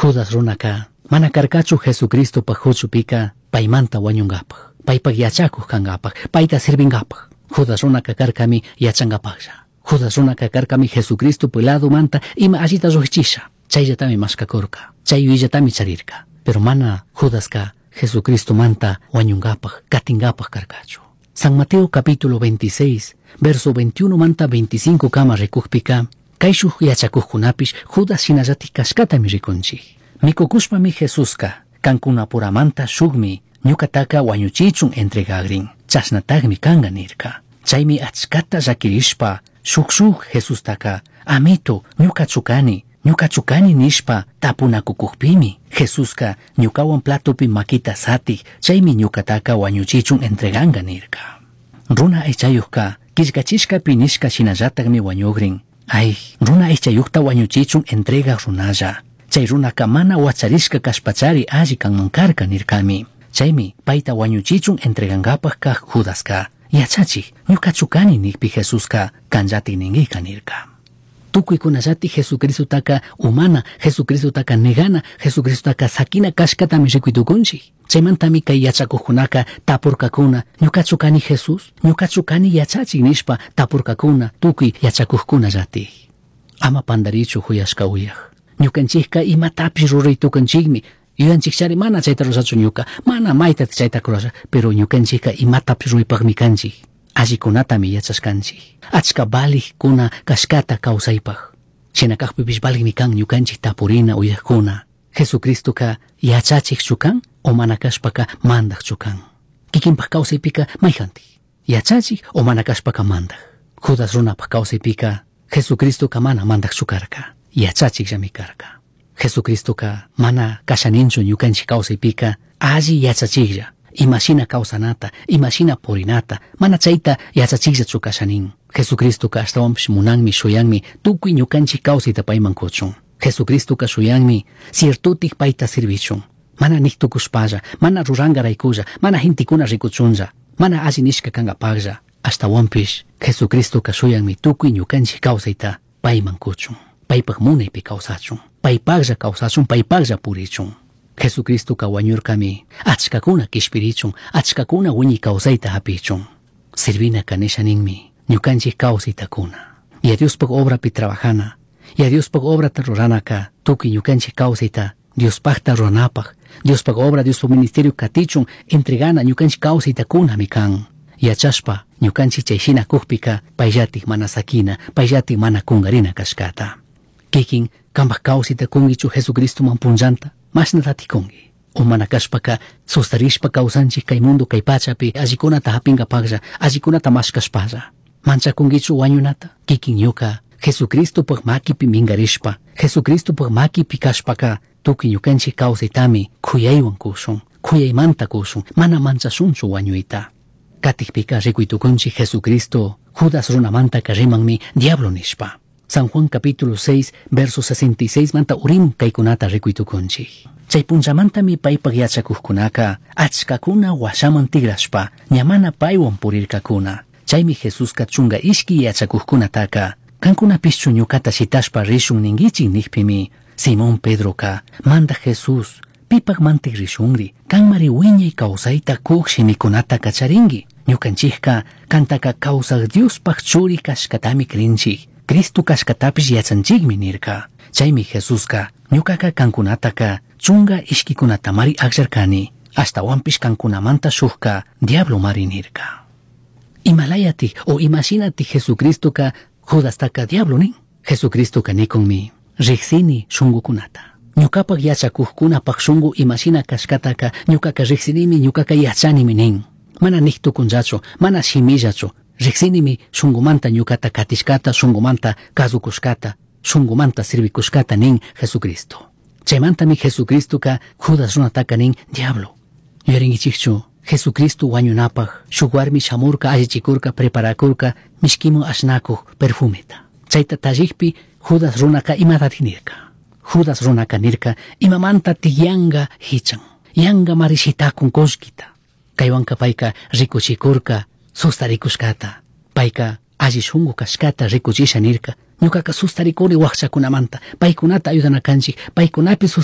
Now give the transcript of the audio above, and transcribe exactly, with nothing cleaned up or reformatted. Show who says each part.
Speaker 1: Judas runaca mana karkachu Jesucristopaj huchupika paymanta wañungapaj, paypaj yachakuj kangapaj, payta sirvingapaj. Judas runaka karkami yachankapajlla. Judas runaka karkami Jesucristo manta ima allita llujchisha. Chayllatami mashkakurka, chay yuyallatami charirka. Pero mana Judaska Jesucristo manta wañungapaj, katingapaj karkachu. San Mateo capítulo veintiséis, verso veintiuno manta veinticinco kama rikukpika, kayshuj yachakujkunapish Judas shinallatik kashkatami rikunchik. Mikukushpami Jesuska, kankunapuramanta shukmi ñukataka wañuchichun entregagrin, chashnatagmi kanga nirka. Chaymi achkata llakirishpa shuk shuk Jesustaka, amito, ñukachu kani, ñukachu kani nishpa tapunakukukpimi, Jesuska ñukawan platopi makita satij, chaymi ñukataka wañuchichun entreganga nirka. Runa aychayujka killkachishkapi nishka shinallatakmi wañugrin. Ay, runa aychayujta wañuchichun entregaj runalla. Chay runaka mana wacharishka kashpachari alli kanman karka nirkami. Chaymi payta wañuchichun entregankapaj kaj Judaska, yachachij, ñukachu kani nikpi Jesuska kanllatik ninkika nirka. Tukuykunallati Jesucristotaka umana, Jesucristotaka negana, Jesucristotaka sakina kashkatami rikuytukunchik. Chaymantami kay yachakujkunaka tapurkakuna, ñukachu kani Jesús, ñukachu kani yachachik nishpa tapurkakuna tukuy yachakujkunallatik. Ama pandarichu huyashka uyaj. Ñukanchikka imatapish ruraytukunchikmi. Yuyanchikchari mana chayta rurachu ñuka, mana mayta chayta rurasha, pero ñukanchikka imatapish ruraypakmi kanchik. Allikunatami yachashkanchik. Achka valijkuna kashkata kawsaypaj. Shina kajpipish valijmi kan ñukanchik tapurina uyajkuna. Jesucristoka yachachikchu kan o mana kashpaka mandajchu kan. Kikinpaj kawsaypika mayjantik. Yachachik o mana kashpaka mandaj. Judas runapaj kawsaypika Jesucristoka mana mandajchu karka. Yachachikllami karka. Jesucristoka mana kashaninchu ñukanchik kawsaypika alli yachachiklla. Imashina kawsanata, imashina purinata, mana chayta yachachikllachu kashanin. Jesucristoka ashtawanpish munanmi shuyanmi tukuy ñukanchik kawsayta payman kuchun. Jesucristoka shuyanmi ciertotik payta sirvichun. Mana niktukushpalla, mana rurankaraykulla, mana gentekuna rikuchunlla, mana alli nishka kankapaklla. Ashtawanpish Jesucristoka shuyanmi tukuy ñukanchik kawsayta payman kuchun. Paypak munaypi kawsachun, paypaklla kawsachun, paypaklla purichun. Jesucristoka wañurkami achkakuna kishpirichun, achkakuna wiñay kawsayta hapichun. Sirvina nisha ninmi ñukanchik kawsaytakuna. Y Diospaj obrapi trabajana, y Diospaj obrata ruranaka tukuy ñukanchik kawsayta Diospajta ruranapaj, Diospaj obra, Diospaj ministerio katichun entregana ñukanchik kawsaytakunami kan. Yachashpa ñukanchik chayshina kukpika payllatik mana sakina, payllatik mana kungarina kashkata. Kikin kanpaj kawsayta kunkichu Jesucristoman punllanta, mashnatatik kunki. O mana kashpaka sustarishpa kawsanchik kay mundo kay pachapi allikunata hapinkapaklla, allikunata mashkashpalla. Manchakunkichu wañunata? Kikin ñuka Jesucristopaj makipi minkarishpa, Jesucristopaj makipi kashpaka tukuy ñukanchik kawsaytami kuyaywan kushun, kuyaymanta kushun, mana manchashunchu wañuyta. Katikpika rikuytukunchik Jesucristo Judas runamantaka rimanmi diablo nishpa. San Juan capítulo seis, verso sesenta y seis manta urim kaykunata rikuytukunchik. Chay punchamantami paypaj yachakujkunaka achkakuna washaman tigrashpa ñamana paywan purirkakuna. Chaymi Jesuska chunga ishki yachakujkunataka kankunapischu ñukata shitashpa rishun ninkichik nikpimi Simón Pedroka manda Jesús pipaj mantik rishunri kanmari wiñay kawsayta kuj shimikunata kacharinki. Ñukanchikka kantaka kawsaj Diospaj churi kashkatami krinchik. Cristo kashkatapish yachanchikmi nirka. Chaymi Jesuska ñukaka kankunataka chunga ishkikunatamari akllarkani, ashtawanpish kankunamanta shukka diablo mari nirka. Imalayatik o imashinatik Jesucristoka Judastaka diablo nin. Jesucristoka nikunmi riksini shungukunata. Ñukapak yachakujkunapak shungu imashina kashkataka ñukaka riksinimi, ñukaka yachanimi nin. Mana niktukunllachu, mana shimillachu, riksinimi shungumanta ñukata katishkata, shungumanta kasukushkata, shungumanta sirvikushkata nin Jesucristo. Chaymantami Jesucristoka Judas runataka nin diablo. Yuyarinkichikchu Jesucristo wañunapaj shuk warmi shamurka, allichikurka, preparakurka mishkimu ashnakuj perfumeta. Chayta tallikpi Judas runaka imatatik nirka. Judas runaka nirka imamanta tiyanga hichan, yanga marishitakun kullkita. Kaywanka payka rikuchikurka sustarikushkata, payka alli shunku kashkata rikuchisha nirka. Ñukaka sustarikuni wakchakunamanta, paykunata ayudana kanchik, paykunapi